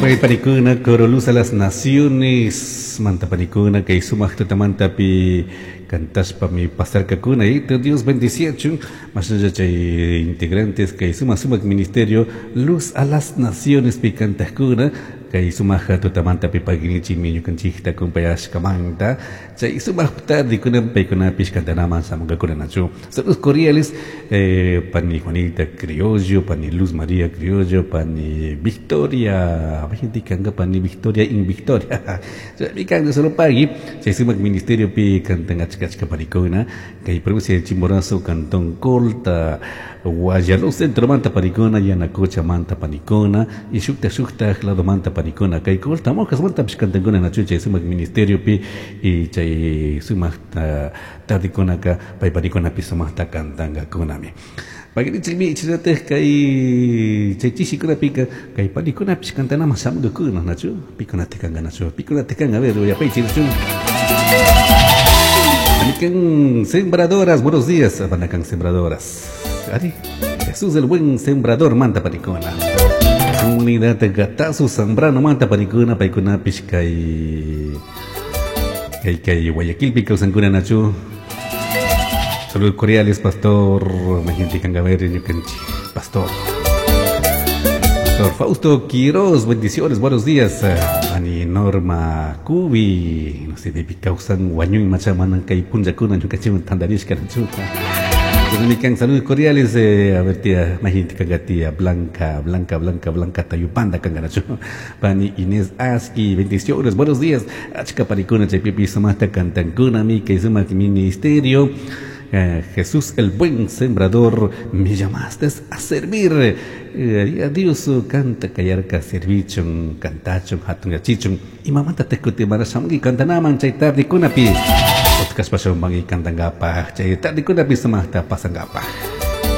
Panikuna, Coro Luz a las Naciones, manta panikuna, kay sumak tutamantapi cantashpami pasarkakuna. Y Dios bendiciachun, mashnalla chay integrantes kay sumak sumak ministerio Luz a las Naciones pi cantakuna, kay sumak tutamantapi paginichikmi ñukanchikta acompañashkamanta, chay sumak tardekuna paykunapish cantanaman shamunkakuna nachu. Saludos cordiales, pani Juanita Criollo, pani Luz María Criollo, pani Victoria, gente kanga pani Victoria in Victoria. Chaymi kan solo pagui, chay sumak ministerio pi cantan achka achka panikuna, kay provincia de Chimborazo, cantón Colta, Guayaló centro manta panikuna, Yanacocha manta panikuna, y shukta shukta lado manta panikuna, kay Colta Mojas manta pish cantankuna nachu chay sumak ministerio pi, y chay sumak tardikunaka pay panikunapi sumakta cantankakunami. Paginichikmi ichinataj kay chay chishikunapika kay panikunapish cantanaman shamunkakuna nachu, pikunata kanka nachu, pikunata kanka, a ver, uyapaychik nachu. Panikan sembradoras, buenos días, panakan sembradoras. Ari, Jesús el buen sembrador manta panikuna. Comunidad Gatazo Zambrano manta panikuna, paykunapish kay kay kay Guayaquilpi kawsankuna nachu. Saludos cordiales, pastor Majinti Kangaver, ñukanchik, pastor. Pastor Fausto Quiroz, bendiciones, buenos días. Ani Norma Cubi, no sé, baby causan wañuy machamanan kay punllakuna ñukanchikwan tantarishka nachu. Mikan, saludos cordiales, a ver tía, Majinti Kanga, tía Blanca, Blanca, Blanca, Blanca Tayupanda Kanganachu. Pani Inés Aski, bendiciones, buenos días. Achka parikuna, chaypipi sumaqta cantankuna, mi kay sumaq ministerio. Jesús el buen sembrador, me llamaste a servir. A Dios canta kayarka servichun, cantachun, hatun yachichun. Y mamata te kutimara shamungi cantanaman chay tardikunapi. Podcast pashamungi cantangapaj, chay tardikunapi sumaqta pasangapaj.